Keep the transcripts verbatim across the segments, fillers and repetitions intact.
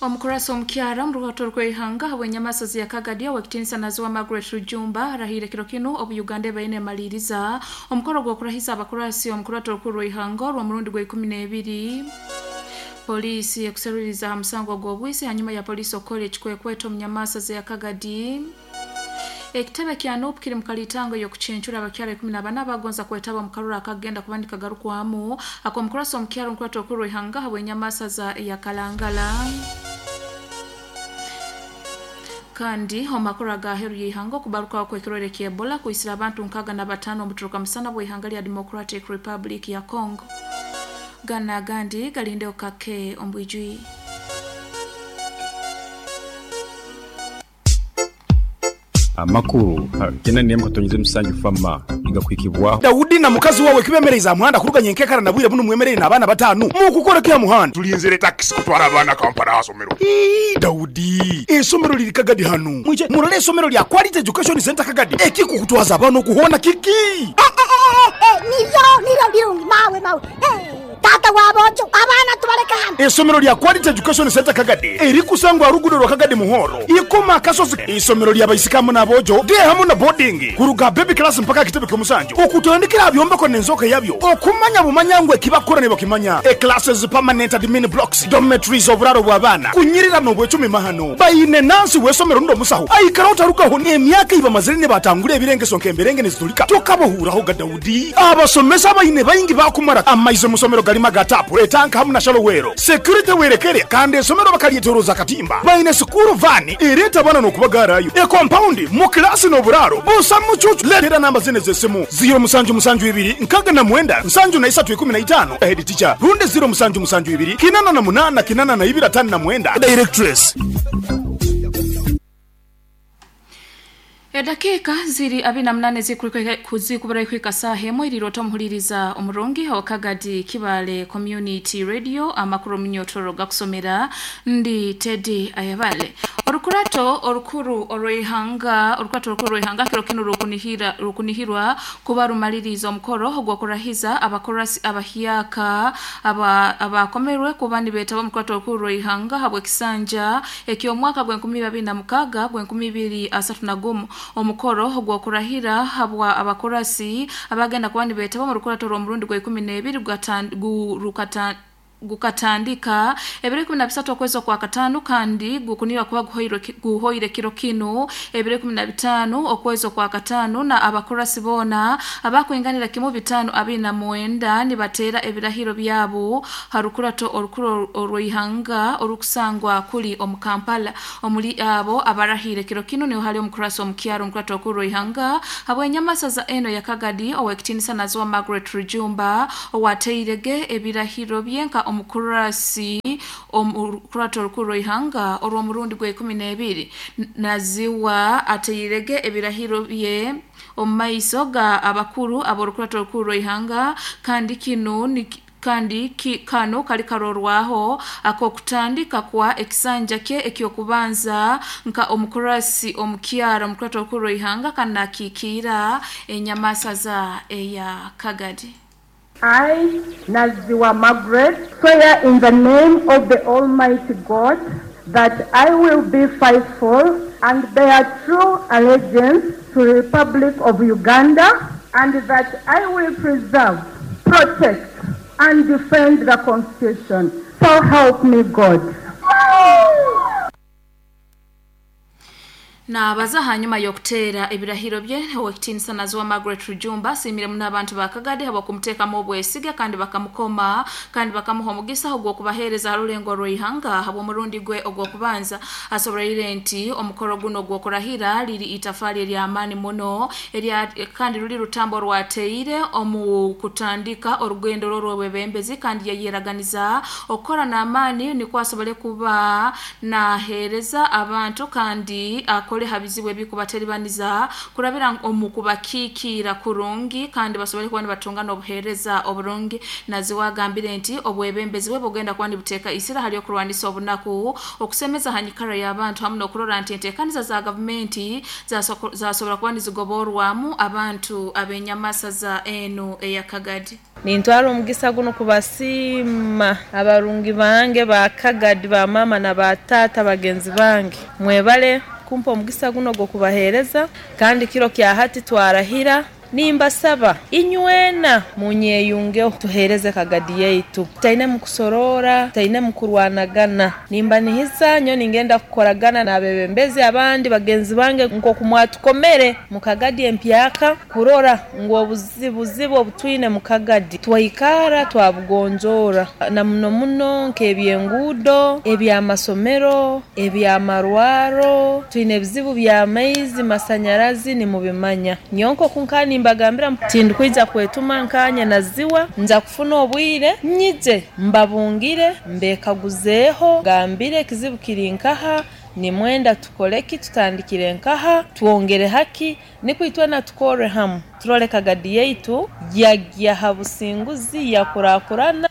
Omukurasi omukyara mu rugato rw'eihanga habw'enyamasazi ya Kagadi ow'ekitiinisa Naziwa Margaret Rujumba arahire kiro kinu obu Uganda ebaine emaliriza omukoro gw'okurahiza abakurasi omukurato orukuru rw'eihanga orw'omurundi gwa ikumi n'ebiri. Polisi ekuseruriza aha musango gw'obwisi hanyuma ya polisi okukora ekikwekweto omu nyamasazi ya Kagadi. Ekitebe kya N U P kiri mu kalitango y'okucencura abakyara ikumi na bana bagonza kwetaba omu karura akagenda kuba nikagarukwamu ak'omukurasi omukyara omukurato orukuru rw'eihanga habw'enyamasaza ya Kalangala. Kandi omakuru agaheru y'eihanga okubarukaho kw'ekirwaire kya Ebola kwisira abantu nkaaga na bataano omuturuka musana bw'eihanga lya Democratic Republic ya Congo. Gana agandi galindeho kake ombwijwi. Amakuru kena nemu katonyize musanju fama igakwikibwa Daudi na mukazi wawe kibemereza muhanda kuruganya enkekara na bwire buno mwemerere n'abaana batanu mukukora kya muhanda tulinzire taxi kutwara abaana Kampala asomero. Ii Daudi esomero liri Kagadi hanu mwije murole esomero lya Quality Education Center Kagadi ekikukutwaza abaana okuhona kiki eh, eh, eh, nivyo nivyo birungi mawe mawe eh. Tata wabojo abana tubaleka hano. Esomero lya Quality Education Center Kagadi erikusangwa rugudo rwa Kagadi Muhoro ikoma akasozi. Isomero lya baisikamu nabojo de hamu na boarding kuruga baby class mpaka kitebe kyomusanju okutandikira byombeko nenzoka yabyo okumanya bumanyangwe kibakora ne bakimanya e classes permanent admin blocks dormitories oburaro bw'abana kunyirira no bwecumi mahano bayine nansi wesomero ndo musaho aikara utarukaho ne emyaka iba mazire ne batangure ebirengeso nkemberenge nezitulika tokabohuraho ga Daudi abasomesa bayine bayingi bakumara amaizo musomero galima gatapu etanka hamu na shalowero security werekere kandi esomero bakalietoroza katimba bayine sukuru vani ereta bana no kubagarayo e compound mu class no buraro busa mucucu letera namba zine zesimu zero musanju musanju ibiri nkaga na mwenda nsanju na isatu ikumi na itano head teacher runde zero musanju musanju ibiri kinana na munana kinana na ibira tano na mwenda directress. Edakika ziri abina mnane zikubera ikwika saha emwe irirota omuhuliriza omurungi wa Kagadi Kibale Community Radio amakuru munyotoro gakusomera ndi Teddy Ayabale. Orukurato orukuru orw'eihanga orukurato orukuru orw'eihanga kiro kinu rukunihira rukunihirwa kuba rumaliriza omukoro gw'okurahiza abakorasi abahiaka aba abakomerwe kuba nibeetaba omukurato orukuru orw'eihanga habw'ekisanja eky'omwaka gw'enkumi babiri na mukaga gw'enkumi ibiri asatu na gumu. Omukoro gw'okurahira habwa abakorasi abagenda kuba nibeetaba mu rukurato rw'omurundi gwa ikumi n'ebiri gukata gukatandika ebiro ikumi na bisatu okwezi kwa katano kandi gukunira kuba guhoire guhoire kiro kino ebiro ikumi na bitano okwezi kwa katano na abakorasi bona abakwinganira kimu bitano abina mwenda nibatera ebirahiro byabo harukurato orukuru orw'eihanga orukusangwa kuli omu Kampala. Omuli abo abarahire kiro kino niho hali omukurasi omukyaro omukurato orukuru orw'eihanga habw'enyamasaza eno ya Kagadi ow'ekitiinisa Naziwa Margaret Rujumba owateirege ebirahiro byenka omukurasi omukurato orukuru orw'eihanga orw'omurundi gwa ikumi n'ebiri. Naziwa ateirege ebirahiro bye omu maiso ga abakuru ab'orukurato orukuru orw'eihanga kandi kino ni kandi ki, kano kali karorwaho akokutandika kwa ekisanja kye ekyokubanza nka omukurasi omukyara omukurato orukuru orw'eihanga kanakikira enyamasaza eya Kagadi. I, Naziwa Margaret, swear in the name of the Almighty God that I will be faithful and bear true allegiance to the Republic of Uganda and that I will preserve, protect, and defend the Constitution. So help me God. Na baza hanyuma y'okutera ebirahiro bye ow'ekitiinisa Naziwa Margaret Rujumba asiimire muno abantu ba Kagadi habw'okumuteekamu obwesige kandi bakamukoma kandi bakamuha omugisa ogw'okubaheereza aha rulengo rw'eihanga habw'omurundi gwe ogw'okubanza. Asoboleire nti omukoro guno ogw'okurahira liri itafaali ery'amaani muno erya kandi ruli rutambo rwateire omu kutandika orugendo rw'obwebembezi kandi yayeraganiza okukora n'amaani nikwo asobole kuba naheereza abantu kandi akole habizibu ebikubateribaniza kurabira omu kubakiikira kurungi kandi basobole kuba nibatunga n'obuheereza oburungi. Naziwa agambire nti obwebembezi bwe bugenda kuba nibuteeka isira hali okurwanisa obunaku okusemeza hanyikara y'abantu hamu n'okurora nti enteekaniza za gavumenti zasobola kuba nizigoborwamu abantu ab'enyamasaza eno eya Kagadi. Nintwara omugisa guno kubasiima abarungi bange ba Kagadi, ba mama na ba tata bagenzi bange. Mwebale kumpa omugisa guno gw'okubaheereza, kandi kiro kya hati twarahira. Nimbasaba inywena munyeyungeho tuhereze Kagadi yaitu, taine mukusorora, taine mukurwanagana. Nimbanihiza nyo ningenda kukoragana n'abebembezi abandi bagenzi bange nkoku mwatukomere mu Kagadi empyaka, kurora ngu obuzibuzibu obutwine mu Kagadi twaikara twabugonjora, na muno muno nk'ebyenguudo, ebyamasomero, ebyamarwaro. Twine ebizibu by'amaizi, masanyarazi nimubimanya. Nyonko kunkani mbagambira tindikwija kwetuma nkanya naziwa, nja kufuna obwire nyije mbabungire mbekaguzeeho, gambire ekizibu kiri nkaha, nimwenda tukoleki, tutandikire nkaha, twongere haki, nikwitwena tukore hamu turole Kagadi yaitu yagya ha businguzi yakurakurana.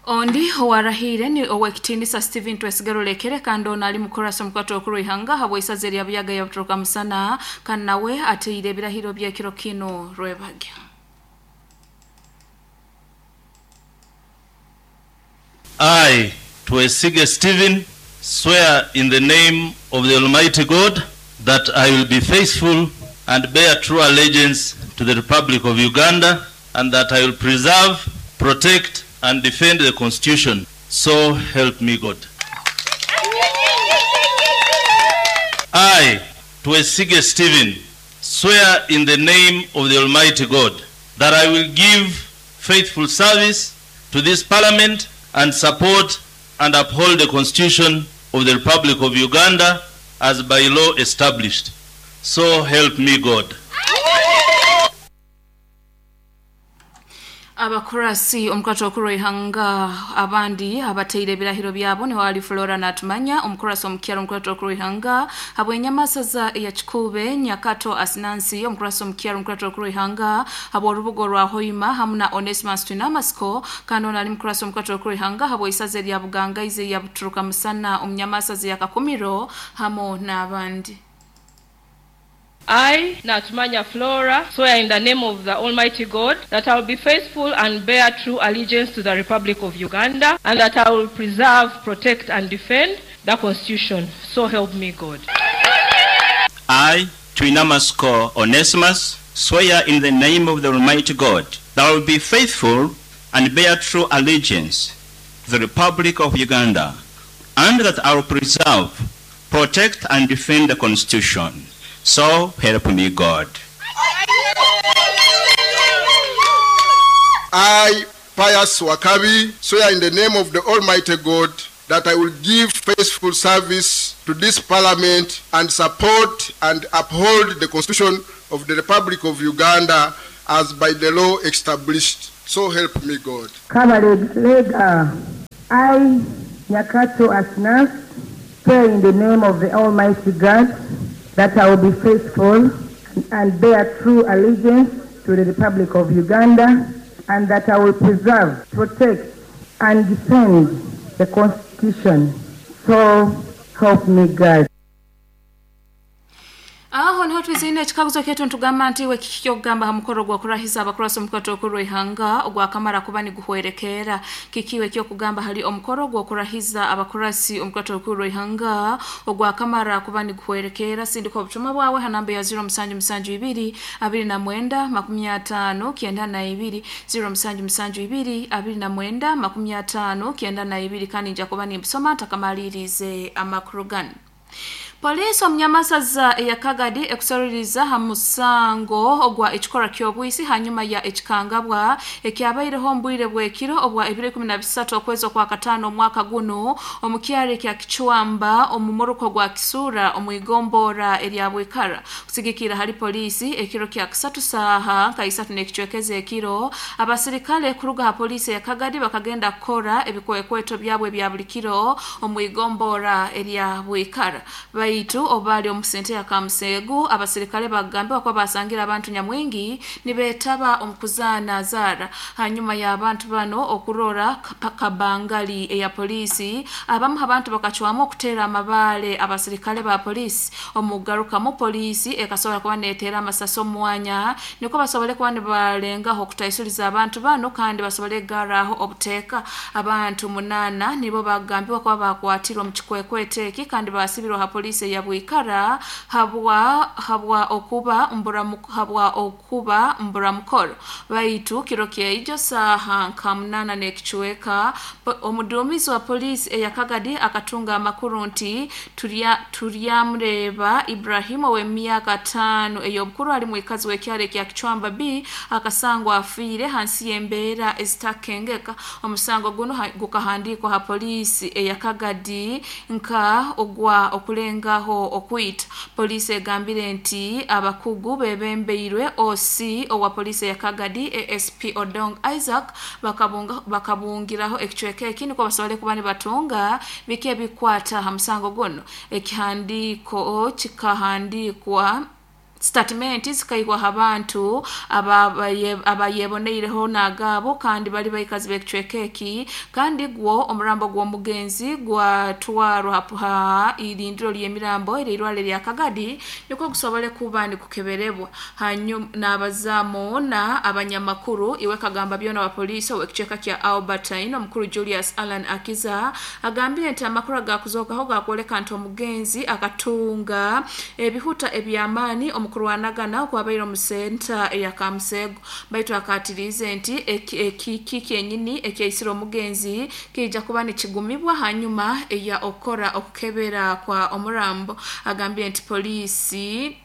Ondi owarahire ni owekitiinisa Stephen Twesigerolekere, kandi ono ali mukurasa omukwatwa okuru ihanga habw'isaza erya Buyaga ya Butoroka Musana, kandi nawe ateire ebirahiro by'ekiro kino rwebagya. I, Twesige Stephen, swear in the name of the Almighty God that I will be faithful and bear true allegiance to the Republic of Uganda, and that I will preserve, protect, and defend the Constitution. So help me God. I, Twesige Stephen, swear in the name of the Almighty God that I will give faithful service to this Parliament and support and uphold the Constitution of the Republic of Uganda as by law established. So help me God. Abakurasi omukwatwa okuru ihanga abandi abateire ebirahiro byabo ni wali Flora Natumanya, omukurasi omukyalo omukwatwa okuru ihanga habw'enyamasaza ya Kikube, Nyakato Asinansi, omukurasi omukyalo omukwatwa okuru ihanga habw'orubugo rwa Hoima, hamu na Onesimus Twinamasko, kandi ono ali mukurasi omukwatwa okuru ihanga habw'isaza erya Bugangaize ya Buturuka Musana, omunyamasaza ya Kakumiro, hamu n'abandi. I, Natumanya Flora, swear in the name of the Almighty God that I will be faithful and bear true allegiance to the Republic of Uganda, and that I will preserve, protect, and defend the Constitution. So help me God. I, Twinamasko Onesimus, swear in the name of the Almighty God that I will be faithful and bear true allegiance to the Republic of Uganda, and that I will preserve, protect, and defend the Constitution. So help me God. I, Pius Wakabi, swear in the name of the Almighty God that I will give faithful service to this Parliament and support and uphold the Constitution of the Republic of Uganda as by the law established. So help me God. Kabalega, I, Nyakato Asnas, swear in the name of the Almighty God that I will be faithful and bear true allegiance to the Republic of Uganda, and that I will preserve, protect, and defend the Constitution. So help me God. Aho niho twizine ekikaguzo ketu ntugamba nti we kiki kyokugamba ha mukoro gwa kurahiza abakurasi omukwatwa okuru ihanga ogwakamara kuba niguhwerekera. Kikiwe kyokugamba hali omukoro gwa kurahiza abakurasi omukwatwa okuru ihanga ogwakamara kuba niguhwerekera. Sindika obutumwa bwawe ha namba ya zero musanju musanju ibiri abiri na mwenda makumi atano kyenda na ibiri, zero musanju musanju ibiri abiri na mwenda makumi atano kyenda na ibiri, kandi nja kuba nimbisoma ntakamalirize amakuru gano. Polisi omunyamasaza ya Kagadi ekusororiza ha musango ogwa ekikora ky'obwisi hanyuma ya ekikangabwa ekyabaireho mbwire bwekiro obwa ebiro ikumi na bisatu okwezi okwa katano omwaka guno omukyaro kya Kichwamba omumuruko gwa Kisura omwigombora erya Bwikara. Kusigikira hali polisi ekiro kya kisatu saha nka isatu n'ekicwekeze ekiro abasirikale kuruga ha polisi ya Kagadi bakagenda kukora ebikwekweto byabwe bya buli kiro omwigombora erya Bwikara. Baitu obali omusente ya Kamusegu abasirikale bagambibwa kuba basangira abantu nyamwingi nibeetaba omukuzaana zaara. Hanyuma y'abantu bano okurora kabangali eya polisi, abamu abantu bakacwamu okuteera amabaale abasirikale ba polisi. Omugarukamu polisi ekasobola kuba neteera amasasi omwanya niko basobole kuba nibalengaho okutaisuliza abantu bano kandi basobole kugarraho obuteeka. Abantu munana nibo bagambibwa kuba bakwatirwa omu kikwekwete eki kandi basibirwa ha polisi eya Bwikara habwa habwa okuba mbura habwa okuba mburamukoro. Baitu kiro kyeijo saaha nka munana n'ekicweka, omuduumizi wa polisi eya Kagadi akatunga amakuru nti turya turyamureba Ibrahimu ow'emyaka tano ey'obukuru ali mwikazi w'ekyaro ekya Kichwamba B akasangwa afiire hansi y'embeera ezitakengeka. Omusango guno gukahandiikwa ha polisi eya Kagadi nka ogwa okulengaho okwita. Polisi egambire nti abakugu bebembeirwe O C owa polisi eya Kagadi A S P Odong Isaac bakabunga bakabungiraho ekicweka eki niko basobole kuba nibatunga biki ebikwata ha musango guno. Ekihandiiko kikahandikwa statement zikaihwa abantu abayeboneireho nagabo kandi bali baikazi b'ekicweka eki, kandi gwo omurambo gw'omugenzi gwatwarwa ha irindiro ly'emirambo erirwale lya Kagadi niko gusobole kuba nikukeberebwa. Hanyuma n'abazamu na abanyamakuru iwe kagamba byona wa polisi ow'ekicweka kya Albertine omukuru Julius Allan Akiza agambire nti amakuru agakuzokaho gakwoleka nti omugenzi akatunga ebihuta eby'amaani omukurwanagana okwabaire omusenta eya Kamusego. Baitu akatirize nti ekiki kyenyini ekyaisire omugenzi kijja kuba nikigumibwa hanyuma eya okukora okukebera kwa omurambo. Agambire nti polisi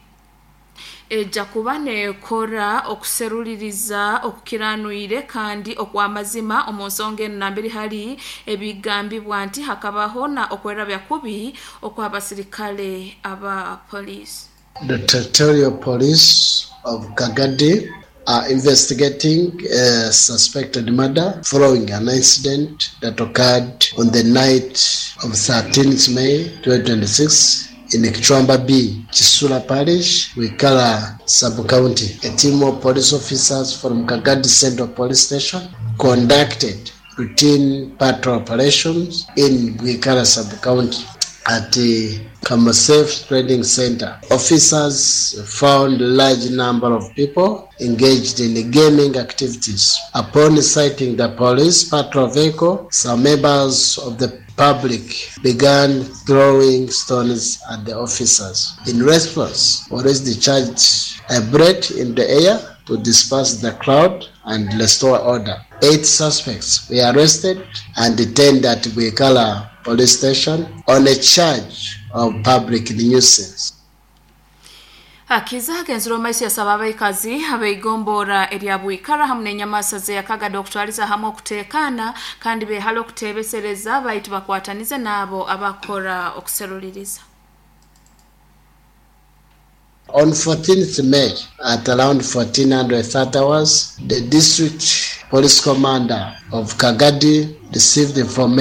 ejja kuba nekora okuseruliriza okukiranwire kandi okw'amazima omu nsonga eno nambere hari ebigambibwa nti hakabaho na okwerabya kubi okw'abasirikale aba polisi. The territorial police of Kagadi are investigating a suspected murder following an incident that occurred on the night of thirteenth May twenty twenty-six in Kichwamba B, Chisula Parish, Wikala Sub-County. A team of police officers from Kagadi Central Police Station conducted routine patrol operations in Wikala Sub-County at the Kamasef Trading Center. Officers found a large number of people engaged in gaming activities. Upon sighting the police patrol vehicle, some members of the public began throwing stones at the officers. In response, police discharged a bullet in the air to disperse the crowd and restore order. Eight suspects were arrested and detained at Bwikala Police Station on a charge of public nuisance. Akiza agenzire omaiso yasaba abaikazi abeigombora erya Bwikara hamwe n'enyamasa ze Yakagadi okutwaliza hamwe okuteekana kandi beehale okuteebesereza baitu bakwatanize n'abo abakora okuseruliriza. On fourteenth May at around fourteen thirty hours, the district police commander of Kagadi received information